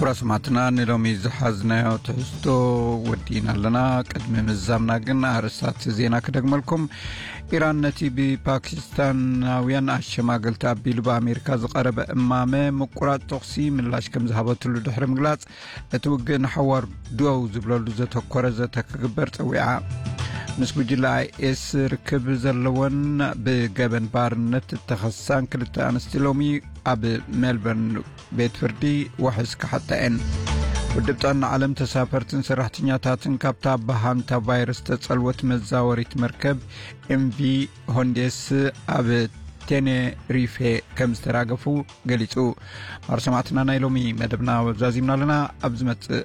ኩራስማትና ንሎሚ ዝሓዝናዮ ትሕዝቶ ወዲእና ኣለና። ቅድሚ ምዛምና ግን ኣርእስታት ዜና ክደግመልኩም። ኢራን ነቲ ብፓኪስታናውያን ኣሸማገልቲ ኣቢሉ ብኣሜሪካ ዝቐረበ እማመ ምቁራጽ ተኹሲ ምላሽ ከም ዝሃበትሉ ድሕሪ ምግላጽ፣ እቲ ውግእ ንሓዋር ደው ዝብለሉ ዘተኮረ ዘተ ክግበር ጸዊዓ። ምስ ጉጅለ ኣይኤስ ርክብ ዘለወን ብገበን ባርነት እተኸሳን ክልተ ኣንስቲ ሎሚ ኣብ ሜልበርን ቤት ፍርዲ ዋሕስ ክሓታ እየን። ውድብ ጥዕና ዓለም ተሳፈርትን ሰራሕተኛታትን ካብታ ብሃንታ ቫይረስ ተጸልወት መዛወሪት መርከብ ኤምቪ ሆንዴስ ኣብ ቴኔሪፌ ከም ዝተራገፉ ገሊጹ። ማር ሰማዕትና ናይ ሎሚ መደብና ዛዚምና ኣለና። ኣብ ዝመጽእ